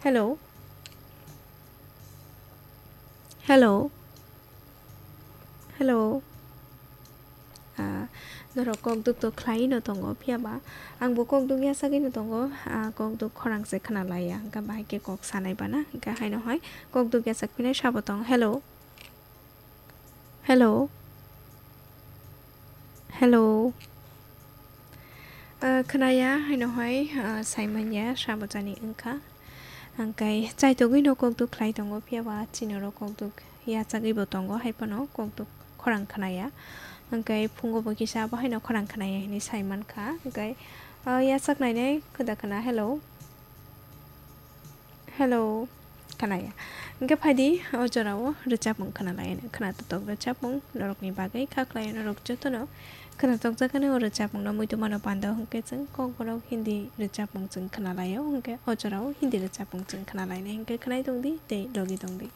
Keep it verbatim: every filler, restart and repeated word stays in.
Hello. Hello. Hello. Ah, norok kok duk tok khlai no tongo, phiya ba ang bo kok duk yasagwi no tongo, ah, kok duk khorang se khna laiya, hwnkhe bahai khe kok sanai bana, hwnkhe haino hai kok duk yasak phinai sabo tong. Hello. Hello. Hello. Ah, khnaya, haino hai, ah, saimanya, sabo jani wngkha. Hwnkhe chaitogwi no kok duk khlai tongo, phiya ba chini oro kok duk yachagwi bo tongo, hai phano kok duk khorang khnaya. Hwnkhe phungo bo kisa abo haino khorang khnaya hinwi sai mankha. Hwnkhe, ah, yachak nainai kwda khna, hello. Hello, khnaya. Hwnkhe phaidi o jorao rwchapmung khna lai, khna totok rwchapmung norokni bagwi kha khlai norok jotono khna tokjakani o rwchapmungno muitu mano pando hwnkhe chwng kokborok Hindi rwchapmung chwng khna laio, hwnkhe o jorao Hindi rwchapmung chwng khna lainai hwnkhe khnai tongdi tei logi tongdi.